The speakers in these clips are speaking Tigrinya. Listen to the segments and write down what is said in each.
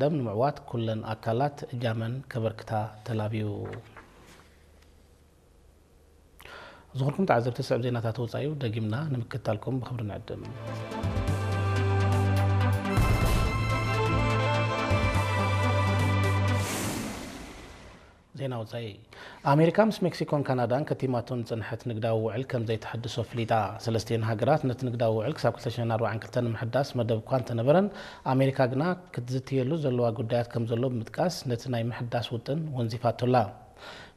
ደም ንምዕዋት ኩለን ኣካላት እጃመን ከበርክታ ተላብዩ። ዝኽርኩም ተዓዘብቲ፣ ስዕብ ዜናታት ወጻኢ እዩ። ደጊምና ንምክትታልኩም ብኽብሪ ንዕድም። ዜና ወጻኢ። ኣሜሪካ ምስ ሜክሲኮን ካናዳን ከቲማቶ ንጽንሐት ንግዳዊ ውዕል ከም ዘይተሐድሶ ፍሊጣ። ሰለስቲኤን ሃገራት ነቲ ንግዳዊ ውዕል ክሳብ ክልተ ሽሕን ኣርባዓን ክልተን ንምሕዳስ መደብ እኳ እንተነበረን፣ ኣሜሪካ ግና ክትዝትየሉ ዘለዋ ጉዳያት ከም ዘሎ ብምጥቃስ፣ ነቲ ናይ ምሕዳስ ውጥን ወንዚፋቶላ።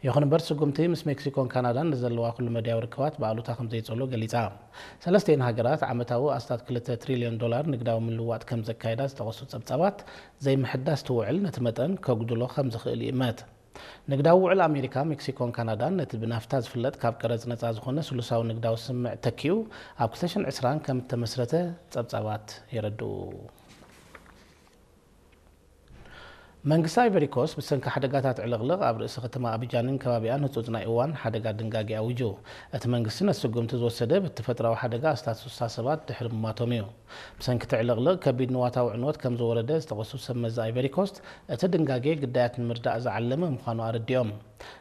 ይኹን እምበር፣ ስጉምቲ ምስ ሜክሲኮን ካናዳን ንዘለዋ ኩሉ መድያዊ ርክባት ብኣሉታ ከም ዘይጸሎ ገሊጻ። ሰለስቲኤን ሃገራት ዓመታዊ ኣስታት ክልተ ትሪልዮን ዶላር ንግዳዊ ምልውዋጥ ከም ዘካየዳ ዝጠቐሱ ጸብጻባት፣ ዘይምሕዳስ እቲ ውዕል ነቲ መጠን ከጉድሎ ከም ዝኽእል ይእመት። ንግዳዊ ውዕል ኣሜሪካ፣ ሜክሲኮን ካናዳን ነቲ ብናፍታ ዝፍለጥ ካብ ቀረጽ ነጻ ዝኾነ ስሉሳዊ ንግዳዊ ስምምዕ ተኪኡ ኣብ ክልተ ሽሕን ዕስራን ከም እተመስረተ ጸብጻባት የረድኡ። መንግስቲ ኣይቨሪ ኮስት ብሰንኪ ሓደጋታት ዕልቕልቕ ኣብ ርእሲ ከተማ ኣቢጃንን ከባቢኣን ህጹጽ ናይ እዋን ሓደጋ ድንጋጌ ኣዊጁ። እቲ መንግስቲ ነቲ ስጉምቲ ዝወሰደ በቲ ተፈጥሮኣዊ ሓደጋ ኣስታት ስሳ ሰባት ድሕሪ ምማቶም እዩ። ብሰንኪ እቲ ዕልቕልቕ ከቢድ ንዋታዊ ዕንወት ከም ዝወረደ ዝጠቐሱ ሰብ መዚ ኣይቨሪ ኮስት፣ እቲ ድንጋጌ ግዳያት ንምርዳእ ዝዓለመ ምዃኑ ኣረዲኦም።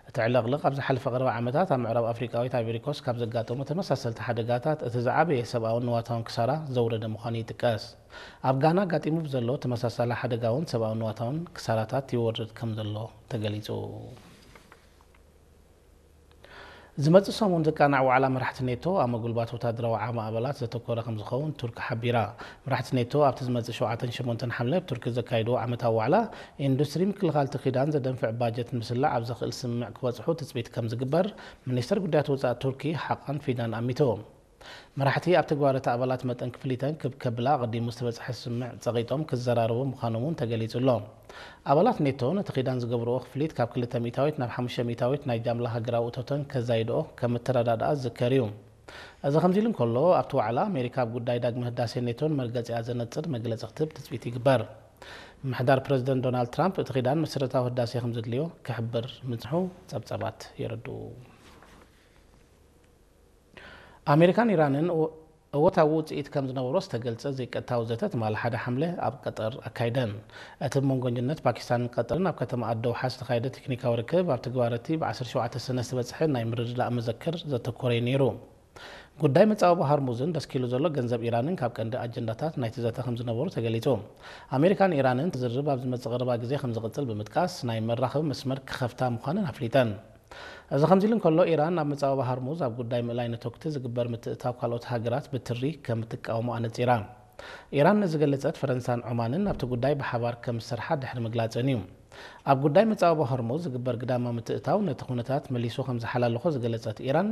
እቲ ዕልቕልቕ ኣብ ዝሓለፈ ቀረባ ዓመታት ኣብ ምዕራብ ኣፍሪቃዊት ኣይቨሪ ኮስት ካብ ዘጋጠሙ ተመሳሰልቲ ሓደጋታት እቲ ዝዓበየ ሰብኣውን ንዋታውን ክሳራ ዘውረደ ምዃኑ ይጥቀስ። ኣብ ጋና ኣጋጢሙ ብዘሎ ተመሳሳሊ ሓደጋ እውን ሰብኣውን ንዋታውን ክሳራታት ይወርድ ከም ዘሎ ተገሊጹ። ዝመጽእ ሰሙን ዝቃናዕ ዋዕላ መራሕቲ ኔቶ ኣብ ምጉልባት ወታደራዊ ዓቕሚ ኣባላት ዘተኮረ ከም ዝኸውን ቱርኪ ሓቢራ። መራሕቲ ኔቶ ኣብቲ ዝመጽእ ሸውዓተን ሸሞንተን ሓምለ ኣብ ቱርኪ ዘካይድዎ ዓመታዊ ዋዕላ፣ ኢንዱስትሪ ምክልኻል እቲ ኪዳን ዘደንፍዕ ባጀት ንምስላዕ ኣብ ዘኽእል ስምምዕ ክበጽሑ ትጽቢት ከም ዝግበር ሚኒስተር ጉዳያት ወጻኢ ቱርኪ ሓቃን ፊዳን ኣሚቱ። መራሕቲ ኣብ ተግባር እቲ ኣባላት መጠን ክፍሊተን ክብ ከብላ ኣቐዲሙ ዝተበጽሐ ስምምዕ ጸቒጦም ክዘራረቡ ምዃኖም እውን ተገሊጹ ኣሎ። ኣባላት ኔቶ ነቲ ኪዳን ዝገብርዎ ክፍሊት ካብ ክልተ ሚእታዊት ናብ ሓሙሽተ ሚእታዊት ናይ ጃምላ ሃገራዊ እቶተን ከዛይድኦ ከም እተረዳድኣ ዝዝከር እዩ። እዚ ከምዚ ኢሉ እንከሎ፣ ኣብቲ ዋዕላ ኣሜሪካ ኣብ ጉዳይ ዳግመ ህዳሴ ኔቶን መርገጺኣ ዘነጽር መግለጺ ክትህብ ትጽቢት ይግበር። ምምሕዳር ፕረዚደንት ዶናልድ ትራምፕ እቲ ኪዳን መሰረታዊ ህዳሴ ከም ዘድልዮ ክሕብር ምጽንሑ ጸብጻባት የረድኡ። ኣሜሪካን ኢራንን እወ-፣ እወታዊ ውጽኢት ከም ዝነበሮ ዝተገልጸ ዘይቀጥታዊ ዘተ ትማሊ ሓደ ሓምለ ኣብ ቀጠር ኣካይደን። እቲ ብመንጎ መንጎ ፓኪስታንን ቀጠርን ኣብ ከተማ ኣደውሓ ዝተኻየደ ቴክኒካዊ ርክብ፣ ኣብ ተግባር እቲ ብ ዓሰርተ ሸውዓተ ሰነ ዝተበጽሐ ናይ ምርድዳእ መዘክር ዘተኮረ እዩ ነይሩ። ጉዳይ መጻወቢ ሃርሙዝን ደስኪሉ ዘሎ ገንዘብ ኢራንን ካብ ቀንዲ ኣጀንዳታት ናይቲ ዘተ ከም ዝነበሩ ተገሊጹ። ኣሜሪካን ኢራንን ትዝርብ ኣብ ዝመጽእ ቀረባ ግዜ ከም ዝቕጽል ብምጥቃስ፣ ናይ መራኸቢ መስመር ክኸፍታ ምዃነን ኣፍሊጠን። እዚ ከምዚ ኢሉ እንከሎ፣ ኢራን ኣብ መጻወቢ ሃርሙዝ ኣብ ጉዳይ ምእላይ ነተኩቲ ዝግበር ምትእትታው ካልኦት ሃገራት ብትሪ ከም እትቃወሞ ኣነጺራ። ኢራን ንዝገለጸት፣ ፈረንሳን ዖማንን ኣብቲ ጉዳይ ብሓባር ከም ዝሰርሓ ድሕሪ ምግላጸን እዩ። ኣብ ጉዳይ መጻወቢ ሆርሙዝ ዝግበር ግዳማ ምትእታው ነቲ ኩነታት መሊሱ ከም ዝሓላልኾ ዝገለጸት ኢራን፣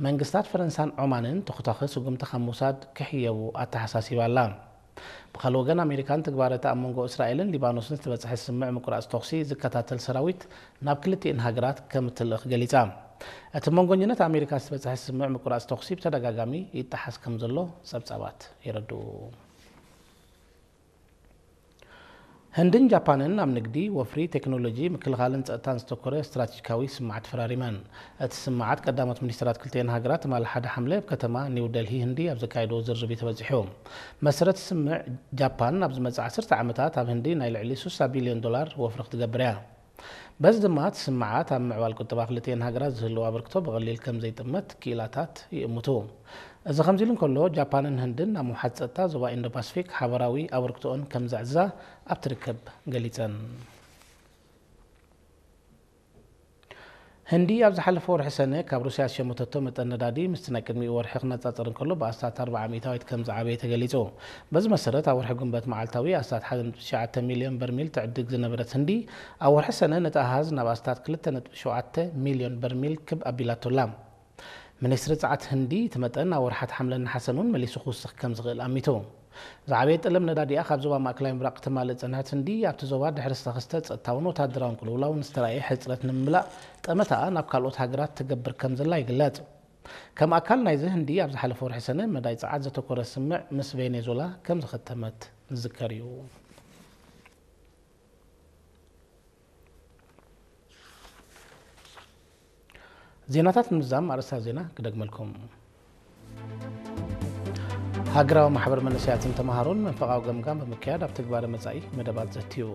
መንግስታት ፈረንሳን ዖማንን ተኹታኺ ስጉምቲ ካብ ምውሳድ ክሕየቡ ኣተሓሳሲባ ኣላ። ብኻልእ ወገን፣ ኣሜሪካ ንትግባረ እቲ ኣብ መንጎ እስራኤልን ሊባኖስን ዝተበጽሐ ስምምዕ ምቁራጽ ተኹሲ ዝከታተል ሰራዊት ናብ ክልቲኤን ሃገራት ከም እትልእኽ ገሊጻ። እቲ መንጎኝነት ኣሜሪካ ዝተበጽሐ ስምምዕ ምቁራጽ ተኹሲ ብተደጋጋሚ ይጠሓስ ከም ዘሎ ጸብጻባት የረድኡ። ህንድን ጃፓንን ኣብ ንግዲ፣ ወፍሪ፣ ቴክኖሎጂ፣ ምክልኻልን ጸጥታን ዘተኮረ ስትራቴጂካዊ ስምምዓት ተፈራሪመን። እቲ ስምምዓት ቀዳሞት ሚኒስትራት ክልቲኤን ሃገራት ትማሊ ሓደ ሓምለ ኣብ ከተማ ኒው ደልሂ ህንዲ ኣብ ዘካየድዎ ዝርርብ እዩ ተበጺሑ። መሰረት ስምምዕ፣ ጃፓን ኣብ ዝመጽእ ዓሰርተ ዓመታት ኣብ ህንዲ ናይ ልዕሊ ስሳ ቢልዮን ዶላር ወፍሪ ክትገብር እያ። በዚ ድማ እቲ ስምምዓት ኣብ ምዕባል ቁጠባ ክልቲኤን ሃገራት ዝህልዎ ኣበርክቶ ብቐሊል ከም ዘይጥመት ክኢላታት ይእምቱ። እዚ ከምዚ ኢሉ እንከሎ፣ ጃፓንን ህንድን ኣብ ምውሓድ ጸጥታ ዞባ ኢንዶ ፓስፊክ ሓባራዊ ኣበርክቶኦን ከም ዘዕዝዛ ኣብቲ ርክብ ገሊጸን። ህንዲ ኣብ ዝሓለፈ ወርሒ ሰነ ካብ ሩስያ ዝሸመተቶ መጠን ነዳዲ ምስቲ ናይ ቅድሚኡ ወርሒ ክነጻጸር እንከሎ ብኣስታት ኣርብዓ ሚእታዊት ከም ዝዓበየ ተገሊጹ። በዚ መሰረት፣ ኣብ ወርሒ ግንቦት መዓልታዊ ኣስታት ሓደ ነጥቢ ትሽዓተ ሚልዮን በርሚል ትዕድግ ዝነበረት ህንዲ፣ ኣብ ወርሒ ሰነ ነቲ ኣሃዝ ናብ ኣስታት ክልተ ነጥቢ ሸውዓተ ሚልዮን በርሚል ክብ ኣቢላቶ ኣላ። ሚኒስትሪ ጸዓት ህንዲ፣ እቲ መጠን ኣብ ወርሓት ሓምለን ነሓሰን እውን መሊሱ ክውስኽ ከም ዝኽእል ኣሚቱ። ዝዓበየ ጠለብ ነዳዲኣ ካብ ዞባ ማእከላይ ምብራቕ ክተማልእ ዝጸንሐት ህንዲ፣ ኣብቲ ዞባ ድሕሪ ዝተኸስተ ጸጥታውን ወታደራውን ቅልውላው ንዝተራእየ ሕጽረት ንምምላእ ጠመታኣ ናብ ካልኦት ሃገራት ትገብር ከም ዘላ ይግለጽ። ከም ኣካል ናይዚ፣ ህንዲ ኣብ ዝሓለፈ ወርሒ ሰነ መዳይ ጸዓት ዘተኮረ ስምምዕ ምስ ቬኔዙዌላ ከም ዝኸተመት ዝዝከር እዩ። ዜናታት ንምዝዛም ኣርእስታት ዜና ክደግመልኩም። ሃገራዊ ማሕበር መንእሰያትን ተምሃሮን መንፈቓዊ ገምጋም ብምክያድ ኣብ ትግባረ መጻኢ መደባት ዘትዩ።